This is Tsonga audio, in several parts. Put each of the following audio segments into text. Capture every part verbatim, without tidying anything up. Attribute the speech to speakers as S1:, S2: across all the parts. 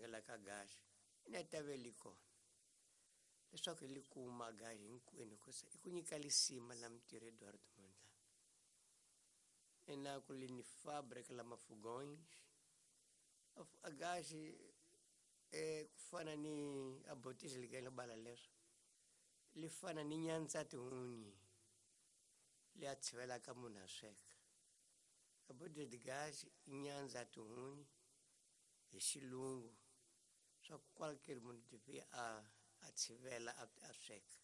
S1: rhangela ka gasi ina tave li kona leswaku hi li kuma gasi hinkwenu hikusa i ku nyika lisima la mintirho Eduardo Mondlane ena ku li ni fábrica la mafugões a gasi eh ku fana ni a botija li ka bala leswo li fana ni nyandza tihunyi li a tshivelaka munhu a sweka a botija de gás i nyandza tihunyi hi xilungu swa ku qualquer munhu devia a a tshivela a, a sweka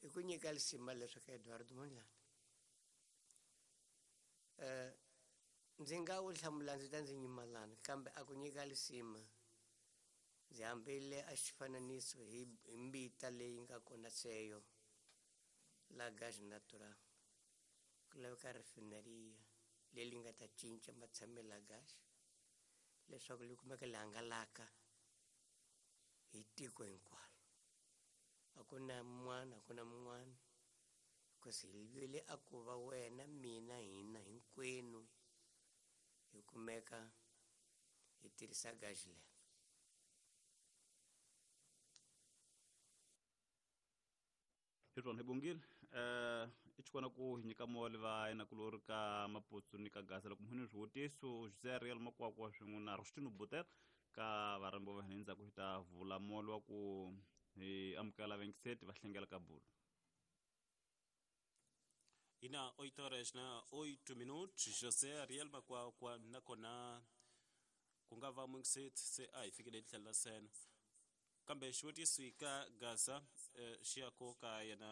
S1: i ku nyika lisima leswo ka Eduardo Mondlane eh ndzi nga wu hlamula ndzi ta ndzi nyimalana kambe a ku nyika lisima ndzi hambile a xifananiso hi hi mbita leyi nga kona seyo la gás natural ku laveka refineria leyi nga ta cinca matshamelo ya gas leswaku li kumeka li hangalaka hi tiko hinkwaro a ku na mun'wana a ku na mun'wana because hi vile a ku va wena mina hina hinkwenu hi kumeka hi tirhisa gasi leri.
S2: Hi swona hi bongile eh i tshikona ku hi nyika moli va yena ku lori ka Maputsu ni ka Gaza loko muhini swivutiso José Ariel Makwakwa swin'we na Rostino Butel ka varhambi va hina endzhaku hi ta vula moli wa ku hi amukela vengiseti va hlengela ka bulu.
S3: Ina oito horas na oito minutos José Ariel Makwakwa nakona ku nga va mungiseti se a hi fikile hi tlhelo la sena kambe xivutiso ka Gaza eh, xi ya ko ka yena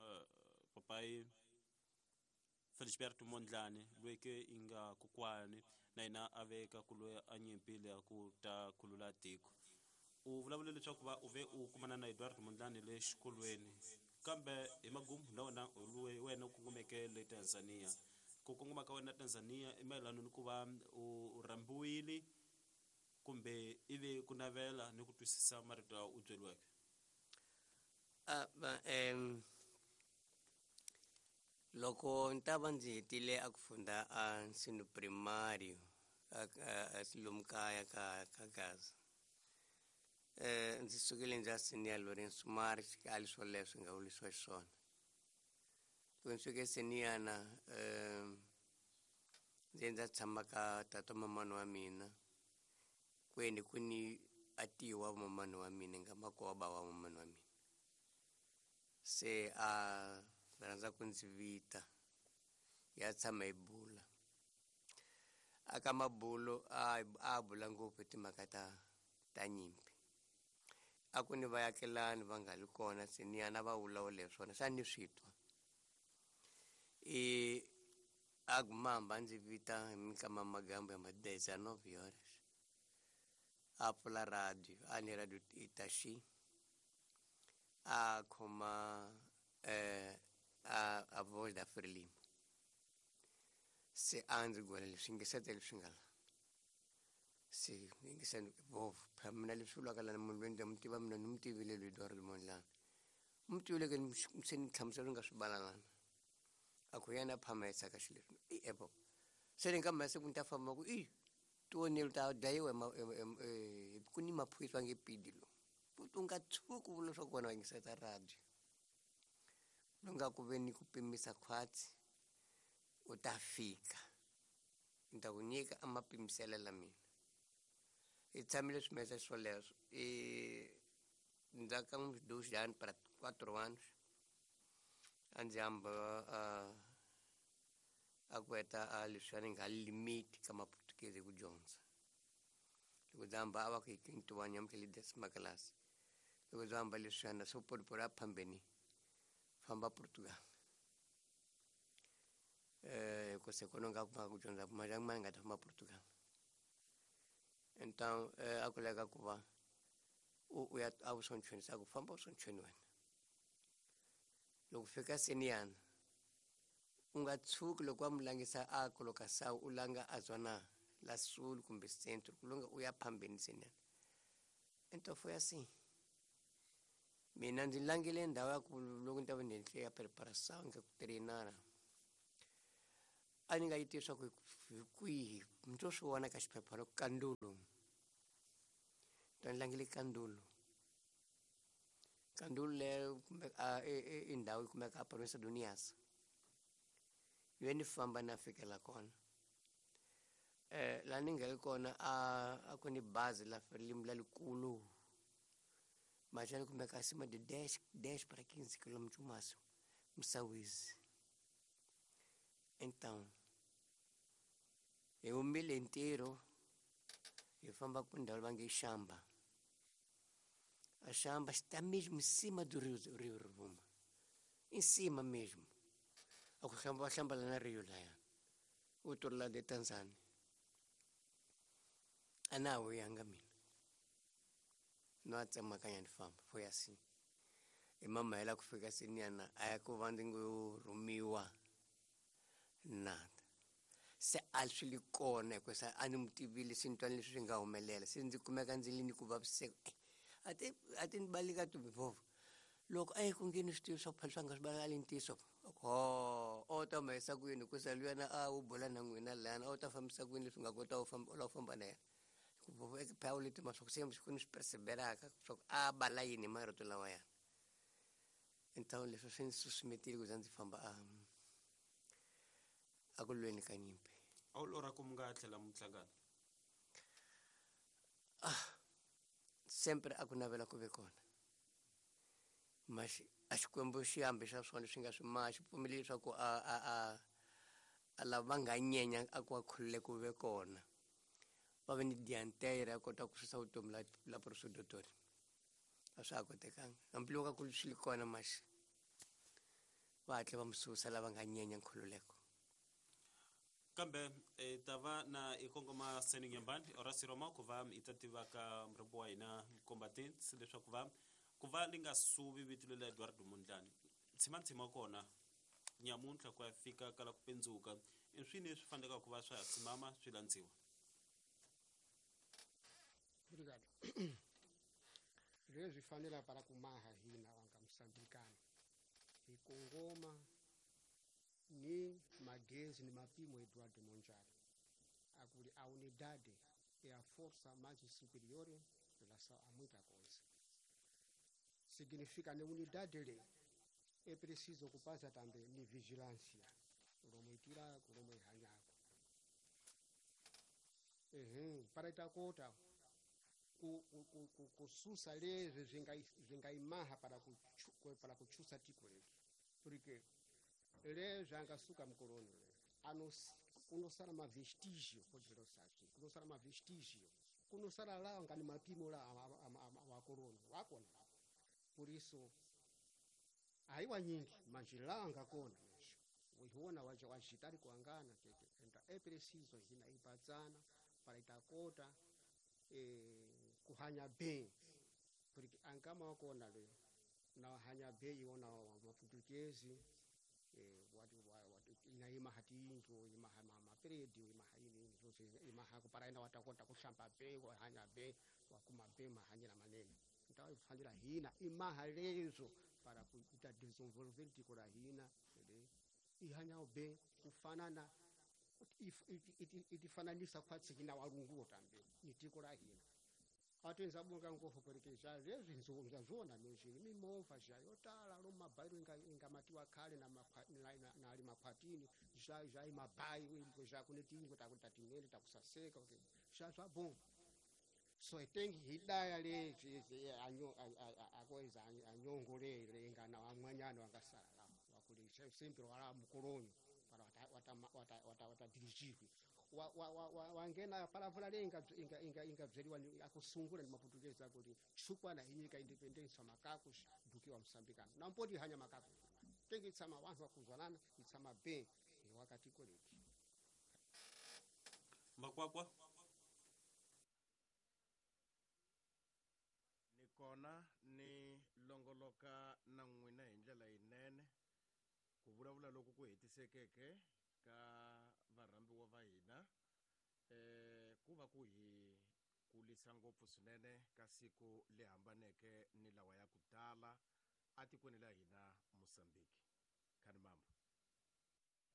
S3: eh, papai Felisberto Mondlane loyi ke i nga kokwani na yena a veka ku loyi a nyimpile ya ku ta khulula tiko u vulavule leswaku va u ve u kumana na Eduardo Mondlane le xikolweni kambe hi magumu na wena loyi wena u kongomeke le Tanzania ku kongoma ka wena Tanzania i mayelana ni ku va u rhambiwile kumbe ivi ku navela ni ku twisisa marito lawa u byeriweke.
S1: A va em loko ni ta va ndzi hetile a ku funda a nsino primário a a lomu kaya ka ka Gaza eh ndzi sukile ndzi ya senior Lourenço Marques ka ali swoleswo nga vulisiwa xiswona loko ndzi fike senior na eh ndzi ndza tshama ka tata mamani wa mina kweni ku ni atiwa mamani wa mina nga makoba wa mamani wa mina se a rhandza ku ndzi vita ya tshama hi bula aka mabulo a a bula ngopfu timhaka ta ta nyimpi a ku ni vayakelani va nga li kona se ni yana va vulavula hi swona sa ni swi twa i a gumamba ndzi vita hi minkama magambo ya ma dezenove horas a pfula radio a ni radio Itaxi a khoma eh a a voz da Frelimo se a ndzi gwela leswi yingisete leswi nga la se yingiseni vovo phela mina leswi vulaka lana munhu loyi ndzi mu tiva mina ni mu tivile loyi Eduardo Mondlane mu tivile ke se ni hlamusela nga swi balalana a ku yena phama ka xilo leswi i epo se ni nga masiku ni ta famba ku i tionelo ta dlayiwa ku ni maphorisa nge pidi lo u nga tshuki vula leswaku wena wa yingiseta radio lo nga ku ve ni ku pimisa khwatsi u ta fika ni ta ku nyika a mapimiselo la mina hi tshamile swimesa swoleswo i ndzhaku ka uns dois anos para quatro anos a ndzi hamba a a ku heta a leswiya ni nga limiti ka maputukezi ku dyondza loko ndzi hamba a va ku hi quinto ano amukele décima classe loko ndzi hamba leswiyana swo poripori a phambeni famba Portugal eh ku se kona nga kuma ku dyondza mali ma nga ta famba Portugal então eh, a ku leka ku va u u ya a wu sonchweni sa ku famba u sonchweni wena loko fika seniyana u nga tshuki loko wa mu langisa a colocação u langa a zona la sul kumbe centro ku longa u ya phambeni seniyana então foi assim mina ndzi langile ndhawu ya ku loko ni ta va ni endle ya preparação nga ku treinara a ni nga yi tivi swa ku hi kwihi ni to swi vona ka xiphephana ku kandulo Ni langile Kandulu. Kandulu leyo kumbe a i ndhawu yi kumeka a province do Niassa. Yo ni famba na fikela kona. Eh la ni nga ri kona a a ku ni bazi la Frelimo la likulu. Mas já kumeka acima de dez, dez para quinze quilômetros o máximo. Msawizi. Então, eu me inteiro eu famba com ndhawu va nge Xamba. A Xamba está mesmo em cima do rio, rio Rovuma. Em cima mesmo. A ku hlamba hlamba la na rio laya. Outro lado de Tanzânia. A na wu yanga mina. No a tsemakanya ni famba, foi assim. E mama ela ku fika siniana a ya ku va ndzi ngo rhumiwa nada. Se a swi li kona hikuva a ni mu tivile se ni twa leswi swi nga humelela se ndzi kumeka ndzi li ni ku vaviseka a ti a ti ni baleka tibivova loko a yi ku ngeni swi tivi swa ku phela swa nga swi baleka li ntiyiso ho o ta humesa ku yini hikusa luyana a wu bula na n'wina lana a wu ta fambisa ku yini leswi nga kota u famba u lava ku famba na yena ku phela u leti swa ku se ku ni swi perseveraka swa ku a bala yini hi marito lawayana. Então leswi swi ni susumetile ku za ndzi famba a a ku lweni ka nyimpi.
S3: A wu lorha ku mi nga tlhela mi hlangana?
S1: Ah, sempre a ku navela ku ve kona. Mas a Xikwembu xi hambi xa swona swi nga swi ma xi pfumeleli leswaku a a a a lava va nga nyenya a ku va khulule ku ve kona. Va ve ni diantere ya kota ku susa vutomi la la professor Dottori. A swa ha kotekanga. Hambiloko a ku swi li kona mas va hatla va mi susa lava nga nyenya nkhululeko.
S3: Kambe e ta va na i kongoma Seni Nyambani Horace Roma ku va i ta tiva ka murhambi wa hina combatants leswaku va ku va li nga suvi vito lela Eduardo Mondlane tshima tshima kona nyamuntlha ku ya fika kala ku pendzuka i swini leswi faneleke ku va swa ha tshimama swi landziwa.
S4: Obrigado. Leswi fanela para kumaha hina wanga Mosambikana hi kongoma ni magezi ni mapimo Eduardo Mondlane akuli a unidade é a força mais superior em relação a muita coisa. Significa na unidade le é preciso ocupar-se também ni vigilância romo itirako romo ihanyako ehe para itakota ku ku ku kususa lezwe zvingaimaha para ku para kuchusa tiko letu porque lezwe angasuka mkoloni le ano kunosala mavestígio poderosa assim kunosala mavestígio kunosala lá ngani mapimo lá awakoloni wakona lá. Por isso aiwa nyingi manjilanga kona mesho uiona waje wajitari kuangana tete então é preciso hina ipazana para itakota eh kuhanya bem porque angama wakona le na hanya bem iona wa maportuguesi eh watu watu inaima hatingo ima mama peredi ima haini nzo ima hako para ina watakota kushamba bem hanya bem wakuma bem mahanyira manene. Então ifanira hina imahalezo para kuita desenvolver tiko la hina ihanya bem kufanana itifananisa kwatsi hina walunguo tambe ni tiko la hina atenza bunga ngofo porque já lezwi nzo zona mesho mimova já yotala lo mabairo inga ingamatiwa khale na na na ali makwatini já já imabai já kunetingo takutatinene takusaseka já já bom. So tengi hidaya le anyo akoeza anyongole le ngana wamwanyano wangasala wakuli sempre wala mkolonyo para wata wata wata wata dirigiwe wa wa wangena palavra le inga inga inga inga bzeliwa akusungula ni maportuguesa akuti chukwana inyika independence makaku dukiwa Msambikana na mpoti hanya makaku tengi tsama wantu wakuzwanana itsama be wakati koleki
S3: Makwakwa
S5: kona ni longoloka na n'wina hi ndlela yinene ku vulavula loko ku hetisekeke ka varhambiwa va hina eh ku va ku hi kulisa ngopfu swinene ka siku le hambaneke ni lawa ya ku tala atikweni la hina Mosambiki. Khani mambo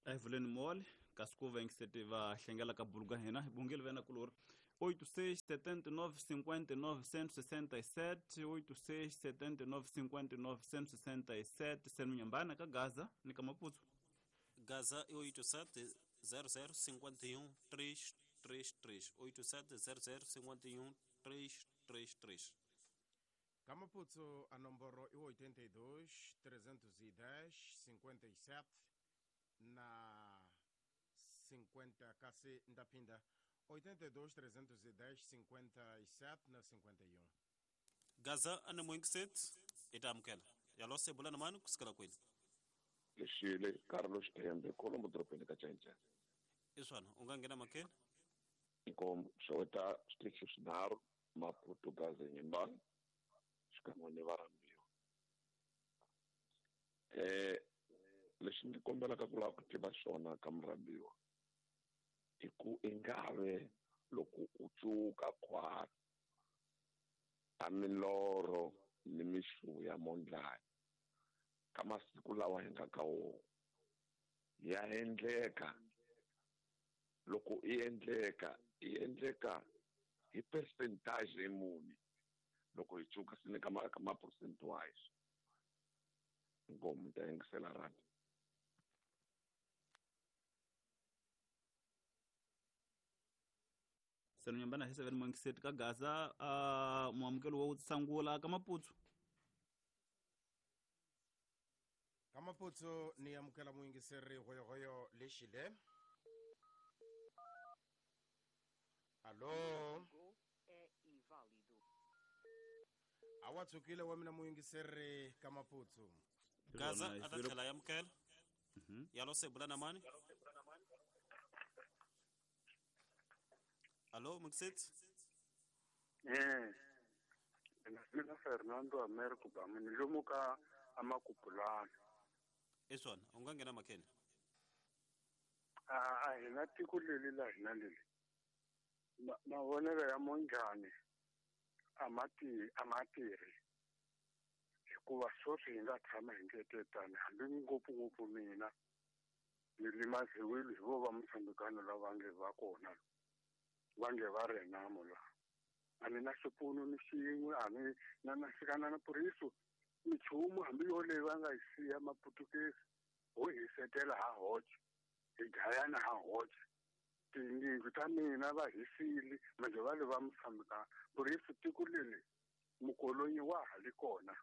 S2: a hi vuleni mole kasi ku va yingiseti va hlengela ka buluka hina hi bungile vena kulori oito seis setenta e nove cinquenta e nove cento e sessenta e sete, oito seis setenta e nove cinquenta e nove cento e sessenta e sete, sendo Nhambana ka Gaza ni ka Maputo.
S3: Gaza é oito sete zero zero cinquenta e um três três três, oito sete zero zero cinquenta e um três três três.
S5: Ka Maputo a nomboro é oitenta e dois trezentos e dez cinquenta e sete na cinquenta kasi ndapinda oitenta e dois trezentos e dez cinquenta e sete na cinquenta e um.
S3: Gaza ana moinkiset itamkela yalose bulana manu kusikala kweli.
S6: Lexile Carlos Tembe Colombo dropeni ka Chanchan.
S3: Iswana ungangena makeni
S6: inkomo xeweta switichi swinharhu Maputo Gaza Nyimbani xikan'we ni varhambiwa. Eh lexi ni kombelaka ku lava ku tiva xona ka murhambiwa i ku ingave loko u cuka khwati a milorho ni mixu ya mondlani ka masiku lawa hi nga ka wona ya endleka loko i endleka i endleka hi percentage muni loko hi cuka swi ni ka ma ka ma percent wise inkomu ta yingisela randi.
S2: Seno Nyambana hi seven moinkiset ka Gaza uh, muamukelo wa sangula ka Maputo.
S5: Ka Maputo ni amukela muyingiseri hoyohoyo lexile. Allo. Awa tsukile wa mina muyingiseri ka Maputo.
S3: Gaza atatlhela ya amukela. Yalose bulana mani. Allo, Mxit?
S7: Eh. Mina Fernando Americo ba mina lomuka amakupulana.
S3: Eswana, ungangena makene.
S7: Ah, ah, hina tiko leli la hina leli. Mavonelo ya Mondlane amati amatiri. Hikuva sweswi hi nga tshama hi ngetetana hambi ngopfungopfu mina ni limaziwile hi vo va Mosambikano lava nge va kona. Vange va renamo la a ni na xipfuno ni xin'we a ni na na xikana na puriso michumu hambi yo leyi va nga yi siya maputukezi ho hisetela ha hoxe hi dlayana ha hoxe tiyindlu ta mina va hisile manje va le va Mosambikana puriso tiko leli mukolonyi wa ha li kona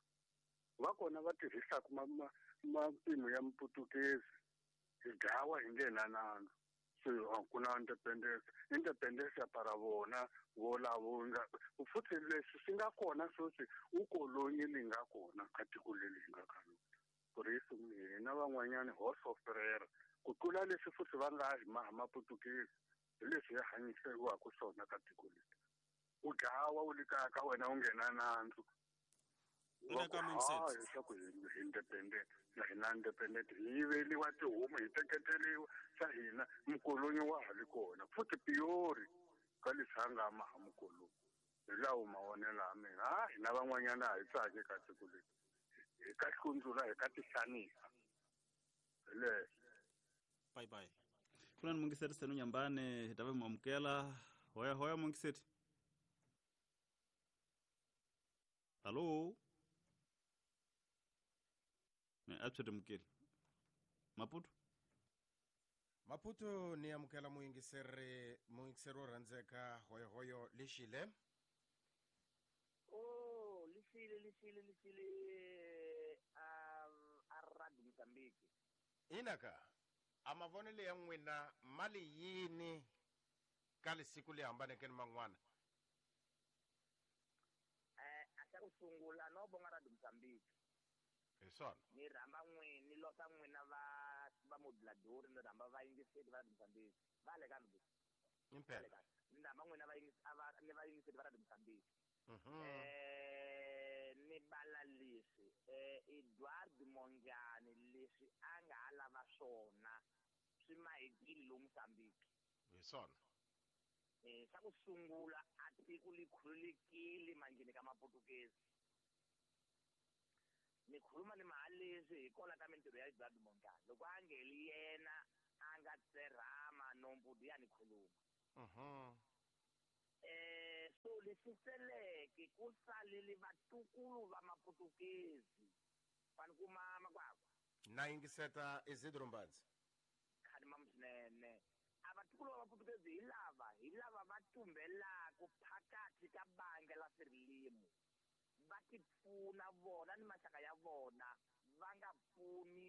S7: va kona va tirhisaka mapimo ya muputukezi hi dlawa hi nge na nandzu. So kuna independence independence ya para vona volavo nga futhi leswi swi nga kona sweswi ukolonyi li nga kona ka tiko leri hi nga ka lona puriso hina van'wanyani ho soferera ku tlula leswi futhi va nga hi maha maputukezi hi leswi hi hanyiseriwaka swona ka tiko leri u dlawa u le kaya ka wena u nghena nandzu leswaku hi independent na hina independent hi yiveliwa tihomu hi teketeriwa xa hina mukolonyi wa ha li kona futhi piyori ka leswi a nga maha mukolonyi hi lawo mavonelo ya mina a hina van'wanyana a hi tsaki ka tiko leri hi ka hlundzula hi ka tihlanisa hi leswo.
S3: Bye bye.
S2: Kuna ni Mungiseti Seno Nyambane hi ta va muamukela hoya hoya Mungiseti. Allo. Ne atshwete mukeli. Maputo.
S5: Maputo ni amukela muyingiseri muyingiseri wo rhandzeka hoyohoyo lexile.
S8: Oh, lexile lexile lexile um a radio Mozambique.
S5: Inaka a mavonelo ya n'wina mali yini ka lesiku leyi hambaneke ni man'wana?
S8: Eh, a xa ku sungula no bonga radio Mozambique.
S5: Hi swona.
S8: Ni rhamba n'wina ni losa n'wina va va moduladori ni rhamba vayingiseri va radio Mozambique. Va le ka mi.
S5: Impela.
S8: Ni rhamba n'wina va ni vayingiseri va radio Mozambique.
S5: Mhm.
S8: Eh ni bala leswi eh Edward Mondlane leswi a nga ha lava swona swi mahekile lomu Mozambique.
S5: Hi swona.
S8: Eh xa ku sungula a tiko li khululekile manjheni ka maputukezi. Ni khuluma ni mahaleswi hi kona ka mintirho ya Edward Mondlane loko a ngeli yena a nga tserhama nombudu ya ni khuluma.
S5: Mhm.
S8: Eh so lexi seleke ku salele vatukulu va maputukezi fani kuma makwakwa
S5: na yingiseta Isidro Mbanzi
S8: khani mam swinene a vatukulu va maputukezi hi lava hi lava va tumbelaku phakathi ka banga la Frelimo va tipfuna vona ni maxaka ya vona va nga pfuni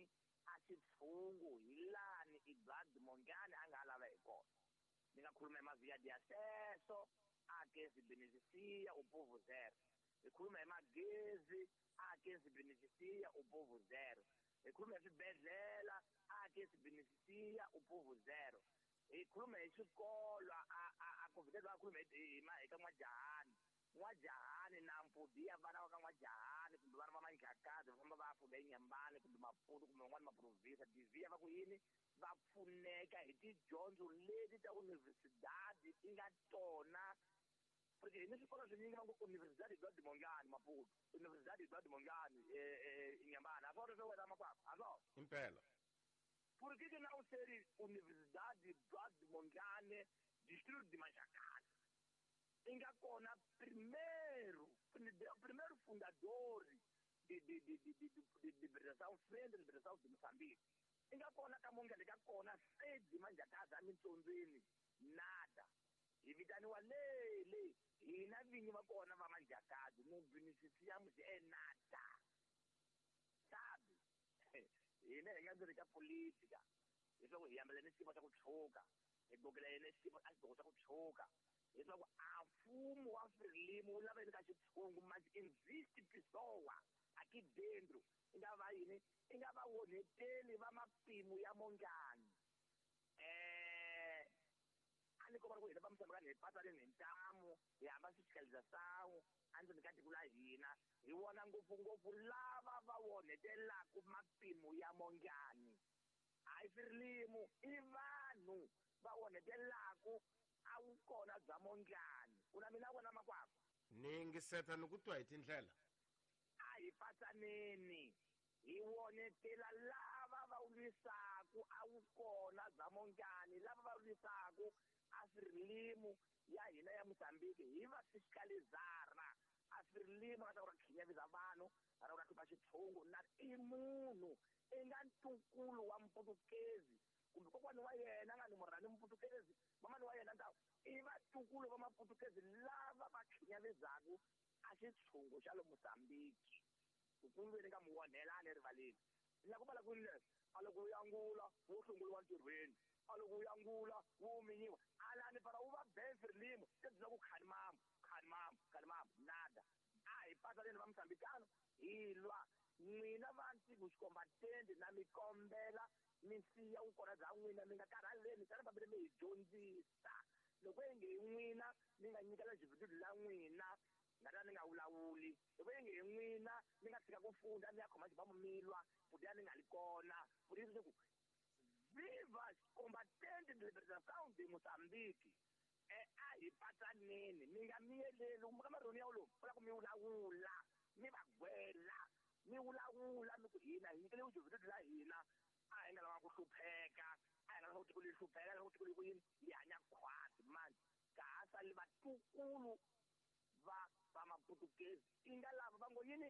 S8: a xitshungu hi lani Edward Mongane a nga lava hi kona ni nga khuluma hi mavia de acesso a que se beneficia o povo zero hi khuluma hi magezi a que se beneficia o povo zero hi khuluma hi swibedhlele a que se beneficia o povo zero hi khuluma hi xikolo a a a covid a khuluma hi hi ka n'wajahani n'wajahani na mpudi ya vana va ka n'wajahani kumbe vana va Manjakazi va famba va ya funda eNyambani kumbe Maputo kumbe van'wani maprovinsa divhiya va ku yini va pfuneka hi tidyondzo leti ta universidade ti nga tona porque hi ni swikolo swinyingi va ngo Universidade Eduardo Mondlane Maputo Universidade Eduardo Mondlane Inhambane a swona swo wena makwakwa a swona
S5: impela
S8: por que que não ser Universidade Eduardo Mondlane Distrito de Manjakazi i nga kona primeiro primeiro fundador de de de de de de liberação frente liberação de Moçambique i nga kona ka Mondlane ka kona sede Manjakazi emintsondzweni nada hi vitaniwa lele hina vinyi va kona va Manjakazi no beneficiamos é nada sabe hina hi nga ndzeni ka politika leswaku hi hambela ni xiyimo xa ku tshuka hi gokela yena xiyimo a xidoko xa ku tshuka leswaku a mfumo wa Frelimo wu lava yini ka xitshungu manje existe pessoa aqui dentro i nga va yini i nga va onheteli va mapimo ya Mondlane eh a ni komba ku hina va Mozambikani hi patsaleni hi ntamu hi hamba fiscalização endzeni ka tiko la hina hi vona ngopfungopfu lava va onhetelaku mapimo ya Mondlane hayi Frelimo i vanhu va onhetelaku a wu kona bya Mondlane ku na mina vona makwakwa
S5: ni yingiseta ni ku twa hi tindlela
S8: a hi patsaneni hi wonetela lava va lwisaku a wu kona bya Mondlane lava va lwisaku a Frelimo ya hina ya Mozambique hi va fiscalizara a Frelimo a ta ku ra khinyavisa vanhu a ra ku ra hlupha xitshungu na i munhu i nga ntukulu wa mputukezi kumbe kokwani wa yena nga ni murhani mputukezi mamani wa yena ntawu i vatukulu va maputukezi lava va khinyavizaku a xitshungu xa le Mozambique kukulweni ka muonhelani erivaleni ni la ku vala kwini leswi a loko wu yangula wu hlongoliwa ntirhweni a loko wu yangula wu minyiwa alani para wu va ben Frelimo se byi la ku khani mamu khani mamu khani mamu nada a hi patsaleni va Mozambikano hi lwa n'wina va ntiku xikombatende na mi kombela mi siya vukona bya n'wina mi nga karhaleni tani fambile mi hi dyondzisa loko inge hi n'wina mi nga nyikela jividudu la n'wina nga ta ni nga vulavuli loko inge hi n'wina mi nga tshika ku funda mi ya khoma xibamu mi lwa futi ni nga li kona futi leswaku viva combatente de liberação de Moçambique eh a hi patsaneni mi nga miyeleli ka marhoni ya wolowo ku la ku mi vulavula mi va gwela mi vulavula mi ku hina hi nyikele vujividudu la hina a hi nga lava ku hlupheka a hi nga lava ku tiko leri hlupheka lava ku tiko leri ku yini hi hanya khwati manje ka ha sali vatukulu va va maputukezi i nga lava va ngo yini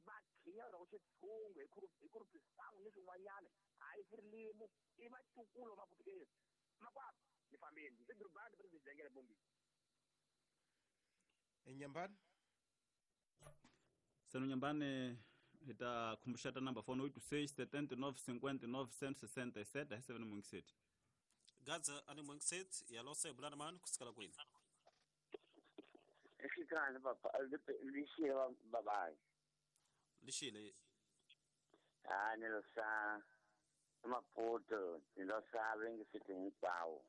S8: va khinya ra xitshungu hi hi kurupisangu ni swin'wanyana hayi Frelimo i vatukulu va maputukezi makwakwa ni fambeni ndzi durubani president Jengele Bombi
S5: Enyambani
S2: Seno Nyambane hi ta khumbuxeta number phone oito seis setenta e nove cinquenta e nove cento e sessenta e sete a seven mungiseti
S3: Gaza ani mungiseti ya lose bulana mani kusukela kwini
S9: Exikhale papa lixile babayi
S3: lixile
S9: a ni lo sa Maputo ni lo sa vengiseti hinkwawo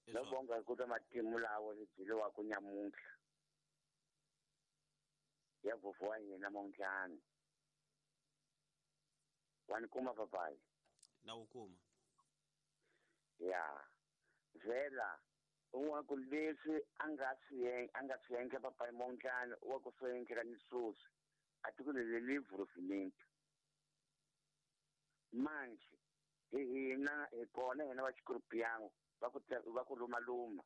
S9: no bonga ku ta matimu lawo hi byeliwa ku nyamuntlha ya vovho wa hina Mondlane wa ni kuma papayi
S3: na wu kuma
S9: ya vhela un'wana ku leswi a nga swi a nga swi endla papayi Mondlane wa ku swi endleka ni sweswi a tiko leri livhuruvimenti manje hi hina hi kona hina va xikurupiyango va ku va ku lumaluma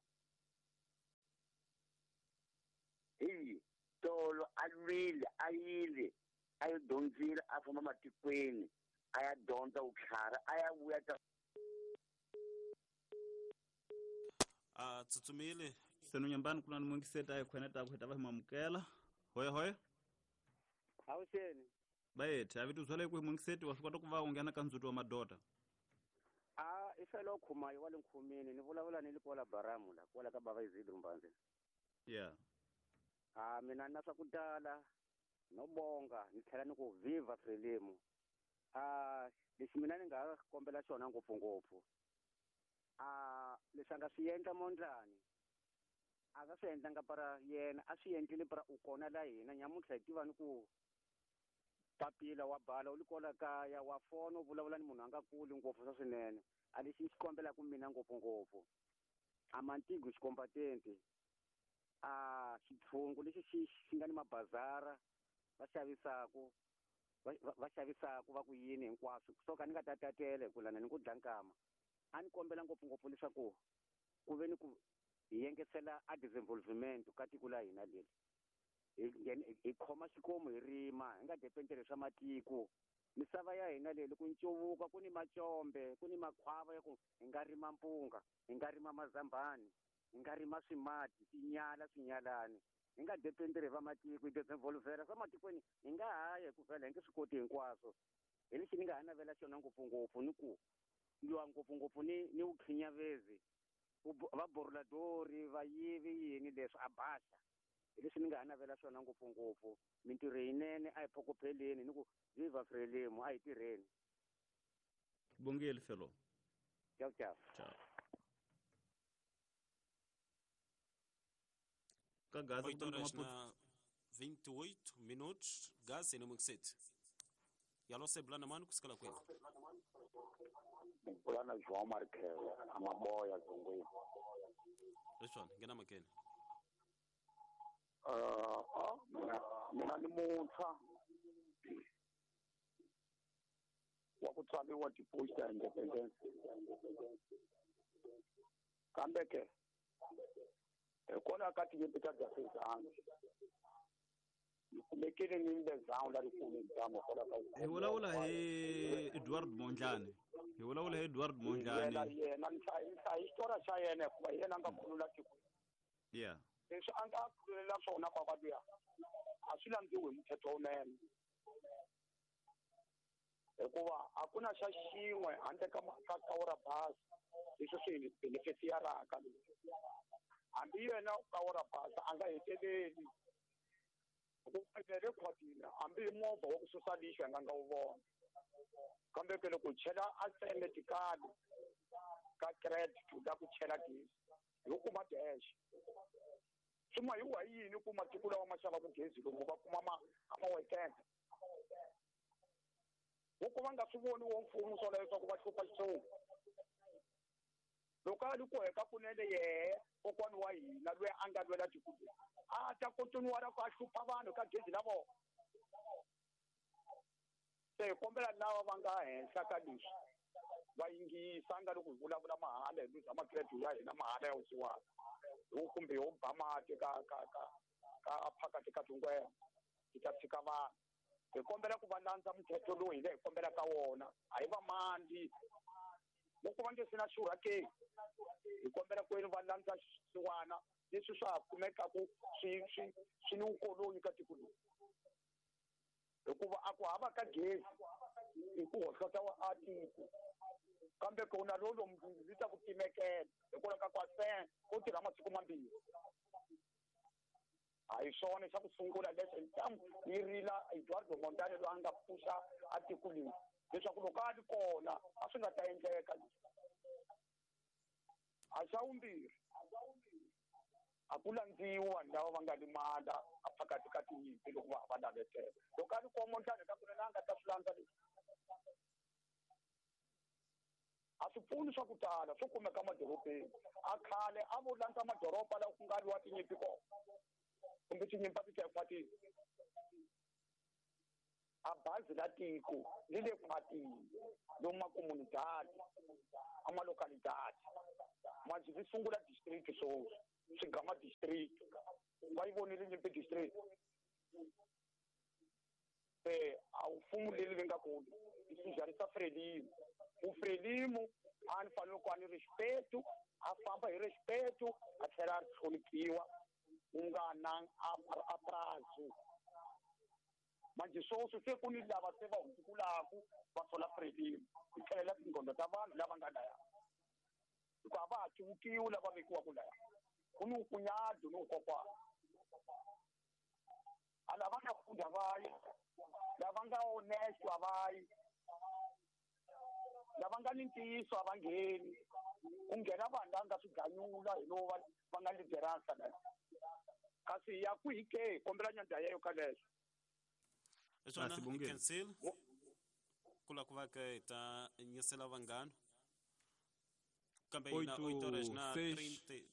S9: a lwile a yile a yo dyondzile a famba matikweni a ya dyondza vutlhari a ya vuya ta
S3: a tsutsumile
S2: seno nyambani kuna ni mungiseta hi khwene ta ku heta va hi mamukela hoya hoya
S10: awuxeni
S2: bayethe a vito byale ku hi mungiseti wa swi kota ku va u nghena ka ndzhuti wa madoda
S10: a i felo khumayo wa le nkhumini ni vulavula ni le kwala baramu la kwala ka bava Izidro Mbanzi
S2: yeah
S10: a mina na swa ku tala no bonga ni tlhela ni ku viva Frelimo a lexi mina ni nga kombela xona ngopfungopfu a leswi a nga swi endla Mondlane a nga swi endlanga para yena a swi endlile para u kona la hina nyamuntlha hi tiva ni ku papila wa bala u li kwala kaya wa fona u vulavula ni munhu a nga kuli ngopfu swa swinene a lexi ni xi kombelaka mina ngopfungopfu a mantigo xikombatente a xitshungu lexi xi xi nga ni mabazara va xavisaku va xavisaku va ku yini hinkwaswo so ka ni nga ta tatele ku lana ni ku dla nkama a ni kombela ngopfungopfu leswaku ku ve ni ku hi yengesela a disinvolvement ka tiko la hina leri hi hi khoma xikomu hi rima hi nga dependeli swa matiko misava ya hina leyi loko ncuvuka ku ni macombe ku ni makhwava ya ku hi nga rima mpunga hi nga rima mazambani hi nga rima swimati tinyala swinyalani hi nga dependeli va matiko hi disinvolvela swa matikweni hi nga haya hi ku vhela hi nge swi koti hinkwaswo hi lexi ni nga ha navela xona ngopfungopfu ni ku lwa ngopfungopfu ni ni vukhinyavezi va boruladori va yivi yini leswi a baxa hi leswi ni nga ha navela swona ngopfungopfu mintirho yinene a hi phokopheleni ni ku viva Frelimo a hi tirheni
S2: bongeli felo
S10: ciao ciao
S2: ciao ka gaza
S3: oito horas na vinte e oito minutos gaza ni mungiseti yalo sebulana mani kusikala kwenu
S6: Bulana João Marques amaboya zongweni
S3: leswana ngena makene
S6: uh ah mina mina ni muntshwa wa ku tswariwa ti-post ya independence kambe ke hikwalaho ka tinyimpi ta Jafezana ni kumekile ni mbezana la rikulu damu hikwalaho ka
S2: hi vulavula hi Edward Mondlane hi vulavula hi Edward Mondlane
S6: yena yena ni hlaya xitori xa yena hikuva hi yena a nga khulula tiko
S2: yeah
S6: leswi a nga khululela swona kwakwa luya a swi landziwi hi muthetho wunene hikuva a ku na xa xin'we handle ka ka kawura basi leswi swi benefisiyaraka hambi yena kawura basi a nga heteleli hikuva rekhwadini hambi hi movha wa ku susa lixo hi nga nga wu vona kambe ke loko chela a tseme tikali ka credit la ku chela gezi hi ku kuma dash swi hi wa yini ku matiko lawa ma xavaku gezi lomu va kuma ma a ma wekenda vo ku va nga swi voni wo mfumo swona leswaku va hlupha xitshungu loko a ri ku heka kunene yehe kokwani wa hina loyi a nga lwela tiko leri a ta kontinuwa ku a hlupha vanhu ka gezi la vona se hi kombela lava va nga henhla ka leswi va yingisa nga loko hi vulavula mahala hi luza makredo ya hina mahala ya vusiwana hi kumbe ho ba mati ka ka ka ka phakati ka tingwena hi ta tshika vanhu hi kombela ku va landza muthetho lowu hina hi kombela ka wona a hi va mandi loko va nge se na xurha ke hi kombela ku va landza xisiwana leswi swa ha kumekaku swi swi swi ni vukoloni ka tiko leri hikuva a ku hava ka gezi i ku hohlota wa a tiko kambe ku na lolo ri ta ku timekela hikwalaho ka ku a sen ko tirha masiku mambirhi a hi swona xa ku sungula lexo ntamu yi rila Eduardo Mondlane loyi a nga pfuxa a tiko leri leswaku loko a ri kona a swi nga ta endleka leswi a xa vumbirhi a ku landziwi vanhu lava va nga limala a phakati ka tinyimpi loko va va navetela loko a ri kona Mondlane ka kunene a nga ta swi landza leswi a swi pfuni swa ku tala swo kumeka madorobeni a khale a vo landza madoroba lawa ku nga lwiwa tinyimpi kona kumbe tinyimpi a ti ta ekhwatini a bazi la tiko li le khwatini lomu makomunidadi a malocalidadi manje vi sungula district sweswi swigama district va yi vonile nyimpi district
S11: Eh a mfumo leri nga kona i sujarisa Frelimo. U Frelimo a ni fanele ku a ni respeto, a famba hi respeto, a tlhela a hloniphiwa ku nga na a prazo. Manje sweswi se ku ni lava se va hundzukulaku va sola Frelimo hi tlhelela tingqondo ta vanhu lava nga laya. Hikuva a va ha cuvukiwi lava vekiwaka laya. Ku ni ukunyado ni ukokwana. A lava nga funda va yi, lava nga honest a va yi, lava nga ni ntiyiso a va ngheni. Ku nghena vanhu lava nga swiganyula hi lowu va va nga lideransa laya. Kasi ya kwihi ke kombela nyandza yeyo ka leswo.
S3: Swona cancel kula ku va ke ta nyisela vanghana kambe ina oito horas na trinta e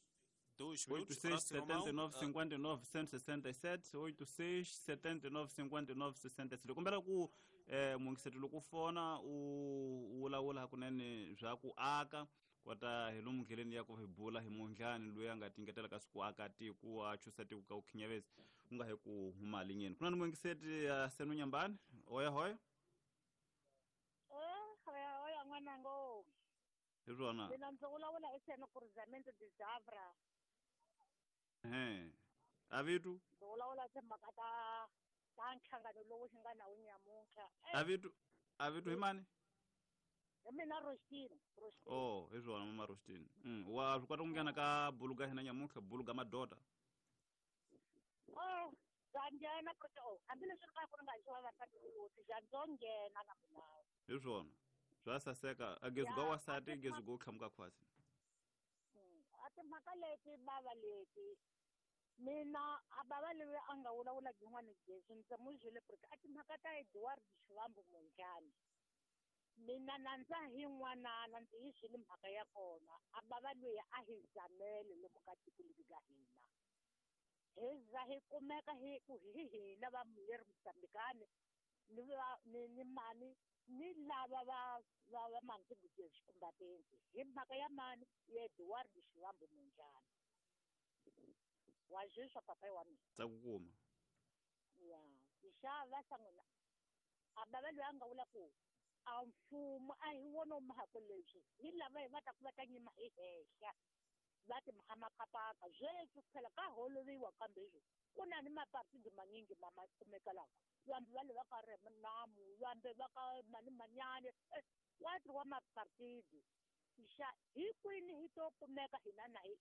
S3: dois minutos.
S2: oito seis setenta e nove cinquenta e nove cento e sessenta e sete oito seis setenta e nove cinquenta e nove sessenta e sete. Kombela ku eh mungiseto loko fona u vulavula hakunene bya ku aka kota hi lomu ndleleni ya ku hi bula hi Mondlane loyi a nga tingetela ka siku aka tiko a chusa tiko ka ukhinyavezi u nga hi ku huma linyeni. Kuna ni mungiseti ya Senu Nyambani oya hoya
S12: eh hoya hoya n'wanango
S2: hi swona
S12: mina ndzi vulavula hi Senu Cruzamento de Zavra.
S2: Eh avitu
S12: ndzi vulavula timhaka ta ta nhlangano lowu hi nga na wu nyamuntlha.
S2: Avitu avitu hi mani?
S12: Mina Rostini. Rostini.
S2: Oh, hi swona mama Rostini. Mm, wa swi kota ku nghena ka buluga hina nyamuntlha buluga madota.
S12: Oh, bya nghena ku oh, hambileswi ri ka ku ri nga xava vasati ku bya ndzo nghena na mina.
S2: Hi swona. Swa saseka a gezu ga wasati gezu go tlhamuka khwasi.
S12: A timhaka leti bava leti mina a bava leyi a nga vulavula yin'wana gezu ndzi n'wi byele ku ri a timhaka ta Edward Shivambu Mondlane. Mina nandza hi n'wanana ndzi yi swile mhaka ya kona a bava loyi a hi zamele lomu ka tiko leri ka hina hi za hi kumeka hi ku hi hina va leri Mozambikani ni va ni ni mani ni lava va va va mandziguze xikumbatenti hi mhaka ya mani ya Edward Shivambu Mondlane wa zweswa papai wa mina
S2: ta ku kuma
S12: ya xava sangona a bava loyi a nga vula ku a mfumo a hi wona mhaka leswi hi lava hi va ta ku va ta nyima hi henhla va ti mhamakapaka sweswi phela ka holoviwa kambe leswi ku na ni mapartidi manyingi ma ma kumeka laha vambe va le va ka Renamu vambe va ka mani manyane wa ti wa mapartidi xa hi kwini hi to kumeka hina na hi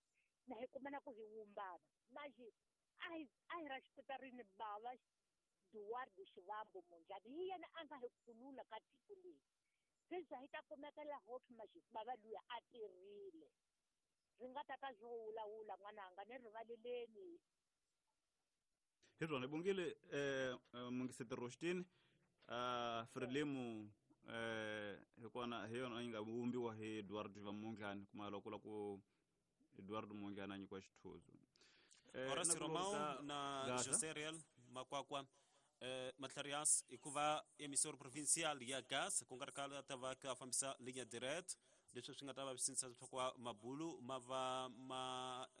S12: na hi kumana ku hi wumbana manje a hi a hi ra xipitarini bava Eduardo Shivambu Mondlane hi yena a nga hi khulula ka tiko leri se za hi ta kumekela hope manje bava luya a tirhile ri nga ta ka swo wulawula n'wananga ni rivaleleni.
S2: Hi swona bongile eh mungiseti Rostini ah Frelimo eh hi kona hi yona yi nga vumbiwa hi Eduardo Mondlane kuma loko la ku Eduardo Mondlane a nyikiwa xithuzo.
S3: Horacio Romão na José Real Makwakwa eh Matlarias hikuva emissor provincial ya gas ku nga ri khale ta va ka fambisa linha direct leswi swi nga ta va swi sindzisa leswaku mabulu ma va ma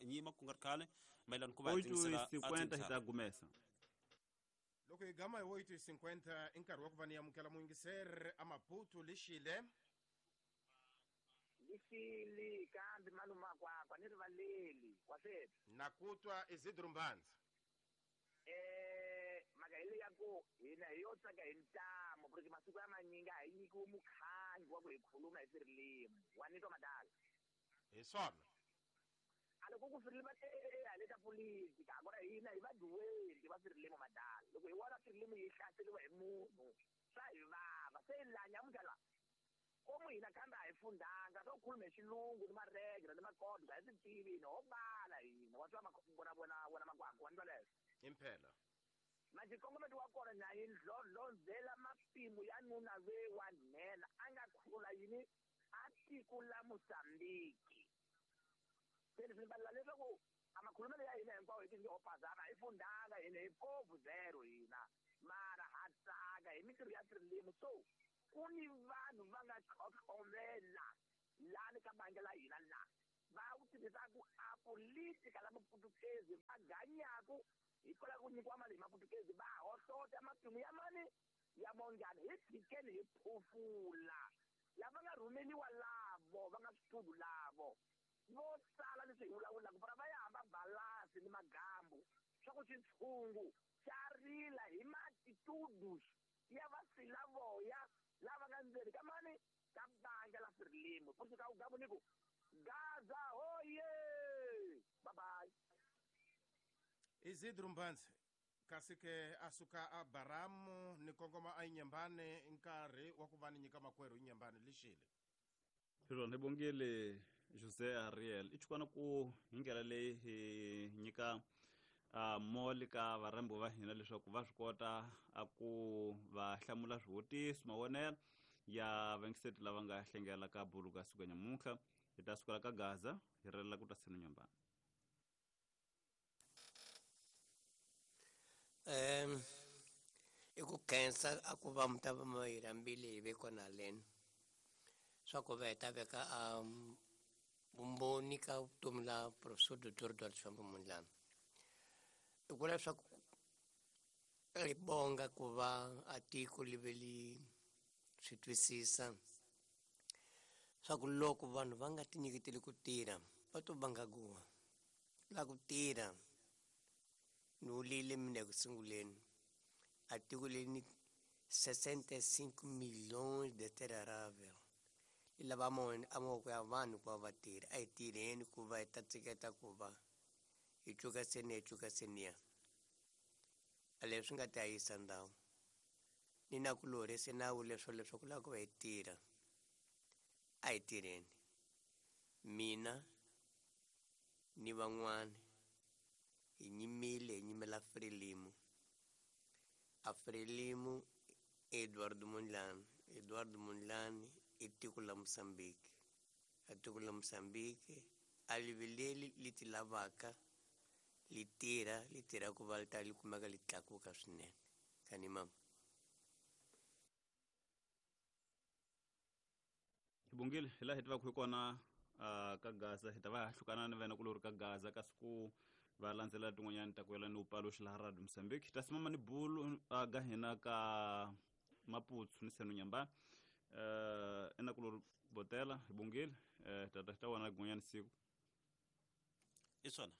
S3: nyima ku nga ri khale mayelana ku va
S2: oito cinquenta hi ta gumesa
S5: loko hi gama hi oito cinquenta i nkarhi wa ku va ni amukela muyingiseri a Maputo lexile
S8: lixili kambe malumakwakwa ni rivaleli wa sweswi
S5: na ku twa Isidro Mbanza
S8: eh mhaka hi leyi ya ku hina hi yo tsaka hi ntamu porque masiku ya manyingi a hi nyikiwi mukhangi wa ku hi khuluma hi Swirilimu wa ni twa madala
S5: hi swona
S8: a loko ku Swirilimu a le ka politika kona hina hi vaduweli va Swirilimu madala loko hi vona Swirilimu yi hlaseriwa hi munhu swa hi vava se la nyamuntlha la komu hina kambe a hi fundanga swo khuluma hi xilungu ni maregre ni makodwa hi swi tivi hina ho bala hina wa twa vona vona vona makwakwa wa ni twa leswo
S5: impela
S8: manje nkongometo wa kona na yi ndlondlondzela mapimo ya nuna ve wa nhenha a nga khulula yini a tiko la Mozambiki se leswi ni balela leswaku a makhulumelo ya hina hinkwawo hi ti ho phazama hi fundanga hina hi povu zero hina mara ha tsaka hi mintirho ya Swirilimu so ku ni vanhu va nga tlhotlhomela lani ka bangi la hina la Va wu tirhisaku a politika la maputukezi va ganyaku hikwalaho ku nyikiwa mali hi maputukezi va hohlota matimu ya mani ya Mondlane hi tshikeni hi phofula lava nga rhumeliwa lavo va nga switudu lavo vo sala leswi hi vulavulaka para va ya hamba balasi ni magambu swa ku xitshungu xa rila hi maatitudes ya vasilavoya lava nga ndzeni ka mani ka bandla la Frelimo kusuka ugabu ni ku Gaza hoye bye bye.
S5: Isidro Mbanzi kasi ke a suka a Baramu ni kongoma a Inyambane nkarhi wa ku va ni nyika makwerhu Inyambane lixile.
S2: Swilo ni bongile Jose Ariel i chukwana ku hi ndlela leyi hi nyika a moli ka varhambi va hina leswaku va swi kota a ku va hlamula swivutiso mavonelo ya vangiseti lava nga hlengela ka bulu ka siku nyamuntlha hi ta sukela ka Gaza hi relela ku ta senu Nyambane.
S1: Um i ku khensa a ku va mi ta va mi hi rhambile hi ve kona leni swa ku va hi ta veka a vumbhoni ka vutomi la Professor Doctor Eduardo Chivambo Mondlane. I ku leswaku ri bonga ku va a tiko li ve li swi twisisa swa ku loko vanhu va nga tinyiketeli ku tirha va to vanga guwa la ku tirha ni vulile mina eku sunguleni a tiko leri ni sessenta e cinco milhões de terra arável li lava a mavoko ya vanhu ku va va tirha a hi tirheni ku va hi ta tshiketa ku va hi cuka seniya hi cuka seniya a leswi nga ta yisa ndhawu ni na ku lorhe se nawu leswo leswaku lava ku va hi tirha a hi tirheni mina ni van'wani hi nyimile hi nyimela Frelimo a Frelimo Eduardo Mondlane Eduardo Mondlane i tiko la Mozambique a tiko la Mozambique a li vileli li ti lavaka li tirha li tirha ku va li ta li kumeka li tlakuka swinene kani mama.
S2: Hi bongile hi laha hi tivaka hi kona ka Gaza hi ta va hlukana ni vena kulori ka Gaza kasi ku va landzela tin'wanyani ta ku yelana ni upaluxi laha Radio Mozambique hi ta simama ni bulu ga hina ka Maputsu ni Senu Nyambane eh ena kulori botela hi bongile eh tata ta wona gun'wanyani siku
S3: i swona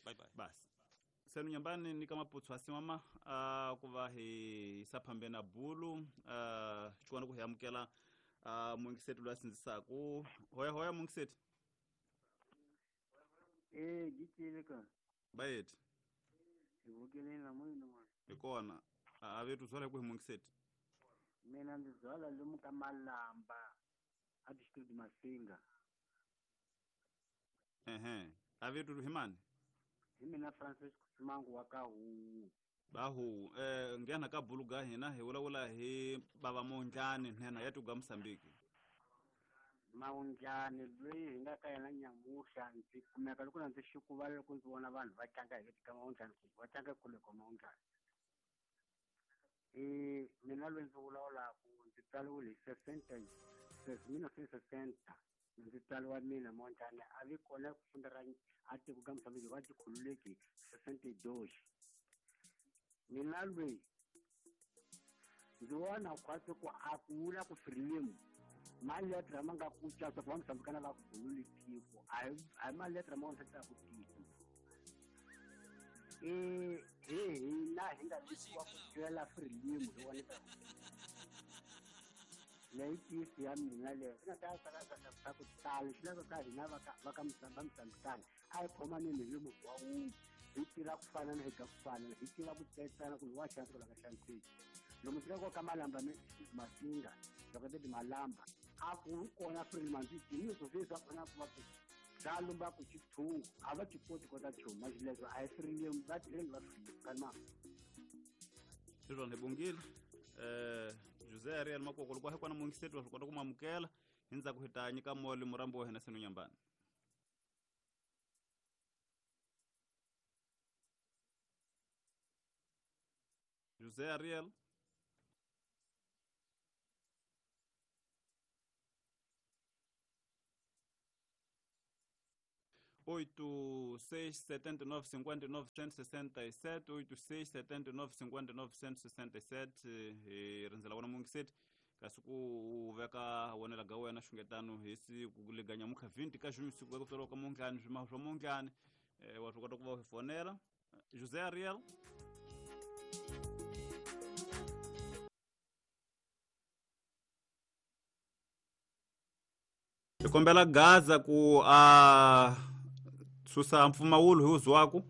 S3: bye bye
S2: basi Senu Nyambane ni ka Maputsu asimama ku va hi yisa phambeni na bulu xikwana ku hi amukela uh mungiseti loyi a sindzisaku hoya hoya mungiseti
S13: eh gitile ka
S2: bayeti
S13: hi vukele na munhu mwana
S2: hi kona a vetu byala ku hi mungiseti
S13: mina ndzi byala lomu ka Malamba a district Masinga
S2: ehe a vetu hi mani
S13: hi mina Francis Kusimangu wa ka Huwu
S2: bahu eh nghena ka bulu ga hina hi vulavula hi bava Mondlane nhenha ya tuga Mozambique
S13: Mondlane loyi hi nga ka yena nyamuhla ndzi kumeka loko ndzi xikuva loko ndzi vona vanhu va tlanga hi ka Mondlane va tlanga kule ka Mondlane eh mina loyi ndzi vulavulaka ndzi tsariwile hi sessenta mil novecentos e sessenta ndzi tsariwa mina Mondlane a vi kona ku funda ra a tiko ka Mozambique va tikhululeki sessenta e dois mina loyi ndzi vona khwatsi ku a ku vula ku Frelimo maletere ma nga ku caca ku va Mozambikana va khululi tiko a hi a hi maletere ma ku tiko e hi hina hi nga vikiwa ku twela Frelimo hi wona leyi tisi ya mina leyo swi nga ta swa ku tala swi lava ka hina va ka va ka Mozambikana a hi khomaneni hi munhu wa wun'we hi tirha ku fana na hi ga ku fana hi tiva ku tsetsana ku wa xanisa ku lava xaniseki lomu tirhaka ka Malamba Masinga loko ti Malamba a ku kona Frelimo ndzi tiniso sweswi a kona ku va ku bya lumba ku xithungu a va ti koti kota chuma xileswo a hi Frelimo va tirheni va Frelimo ka ma
S2: sweswo hi bongile eh Jose Ariel Makoko loko hi kona mungiseti wa swi kota ku mamukela hi ndzhaku hi ta nyika moli murambi wa hina Senu Nyambane. Jose Ariel oito seis setenta e nove cinquenta e nove cento e sessenta e sete oito seis setenta e nove cinquenta e nove cento e sessenta e sete hi rindzela wona mungiseti kasi ku u veka wonela ga wena xungetano hi siku leganya mukha vinte ka junho siku ku tswariwa ka Mondlane swimaho swa Mondlane eh, wa swi kota ku va u hi fonela. José Ariel. Hi kombela Gaza ku a susa mpfumawulo hi uzwaku.